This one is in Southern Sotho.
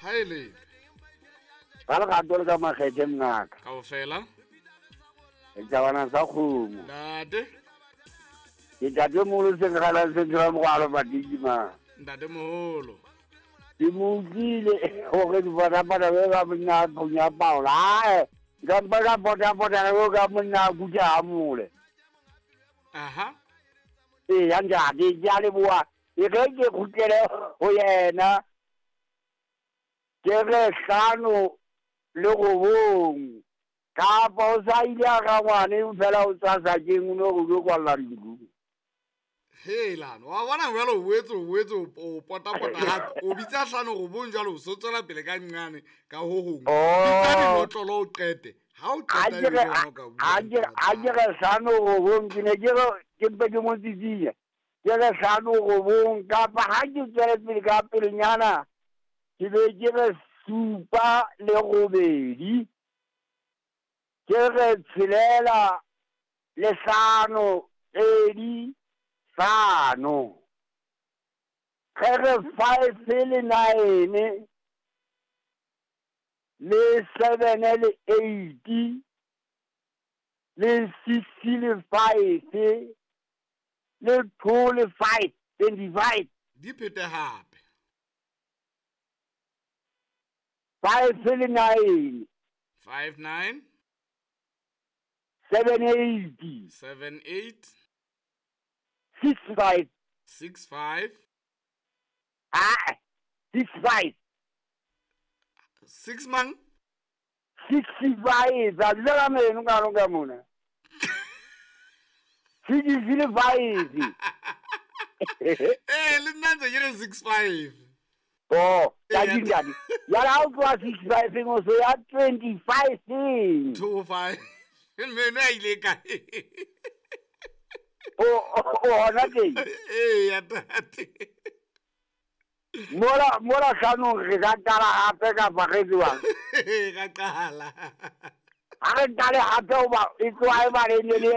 Ha e le Ka lerato le ka makgethe mngaka. Kaofela. Setabana sa kgomo. Ntate. Ke ntate moholo Senkgalang Central Mogwalo Matikima. Ntate moholo. Ke mo utlwile hore dipatapata be ka monna phunya paola. Ae, nka mpa ka potapota ka ka monna kuta hamole. Aha. Ee, ya ntate, ke a leboha. E re ke kgutlele ho yena. Ke re 59. Kapa o sa ile a ka ngwane fela o tswa sakeng o no go tlo kwalla ntlo. Helan, wa bona jwale o boetse o boetse o potapota gape o bitsa 59 jwale o so tswela pele ka nqane ka ho gongwe. Bitsa dinotlolo o qete. Ha o qeta e be o ka bua. A ke re 59 ke ne ke re ke mpe ke mo tsitsinya. Ke re 59 kapa ha ke tswele pele ka pelenyana ke be ke re 78. Ke re 6 le 5 2 5. Ke re 5 le 9 le 7 le 8 le 6 le 5 le 2 le 5, 25. Di phete hape. 5 le 9. 5 9. 7 8. 7 8. 6 5. 6 5. Ah, 6 5. 6 mang? 6 5. A dula meno ka ka mona. 6 le 5. Eh, le nna ntse ke re 6 5. Oh, ya dingane. Ya la o tloha 6 5 ngo so ya 25. 2 5. Meno a ile kae? O hona teng. Ee, ya tate. Mola hlanong re ka qala hape kapa re jwang? Re ka qala. Ha re qale hape hoba e tloha e ba le ne le